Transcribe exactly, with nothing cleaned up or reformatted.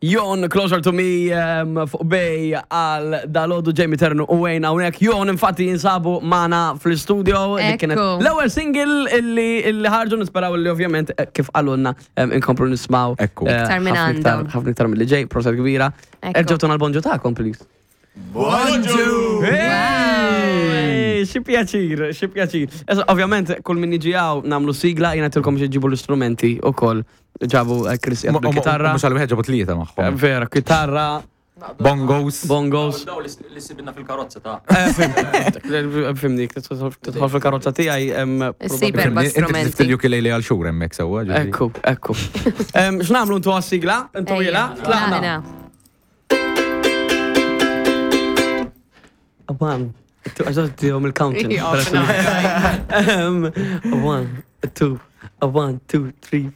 Jon, Closer to Me, um, fuq Bay għal dalgħodu Jamie Ternu u Wayne hawnhekk. Jon infatti jinsabu magħna fl-studio. Li kienet Ekku. l-ewwel single illi illi ħarġu, nisperaw li ovvjament eh, kif qalulna um, inkomplu nismaw Ekku. eh, Iktar minn ħafna iktar- għandhom. ħafna iktar mill-li ġej, proset kbira. Ekku. Erġgħu tuna l-bonġu tagħkom, please. Bonġu! Hey, xi pjaċir, xi pjaċir. Issa, ovvjament, kull min jiġi hawn nagħmlu sigla, jiena tilkom xi ġibu l-istrumenti ukoll. Ġabu eh, Chris jgħid bil-kitarra. Mhux għal wieħed, ġabu tlieta Eh, magħhom. Vera, kitarra, Bongos. bongos. Daw li sibna fil-karozza ta' Eh, fim- Fimni, tidħol fil-karozza tiegħi. em, Issib probabbli- erba' Inti strumenti. tiftil ukulele għal xhur hemmhekk sewwa. Ġifieri. Ekku, ekku. Em, X'nagħmlu ntu għas-sigla? Intu Ejja, jela? Tlaqna. tlaqna. One, two, għax tihom il-counting. Ija, Em, One, two, one, two, three,